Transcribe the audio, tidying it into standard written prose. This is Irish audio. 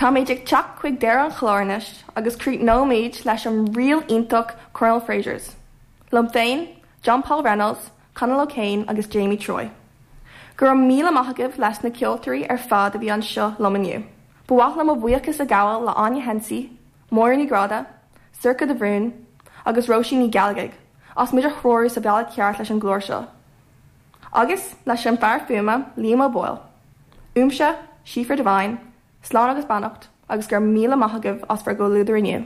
Táimid ag teacht chuig deireadh an chláir anois agus críochnóimid leis an ríl iontach Cornal Fraser's. Liom féin, John Paul Reynolds, Conall O'Kane agus Jamie Troy. Go raibh míle maith agaibh leis na ceoltóirí ar fad a bhí anseo liom inniu. Ba mhaith liom mo bhuíochas a ghabháil le Áine Hensey, Máire Ní Ghráda, Sorcha de Bhrún agus Róisín Ní Ghealgaigh as muid a threorú sa bhealach ceart leis an gclár seo. Agus leis an fear fuaime, Liam O'Boyle. Uaimse, Síofra Devine, slán agus beannacht agus go raibh míle maith agaibh as bhur gcomhluadar inniu.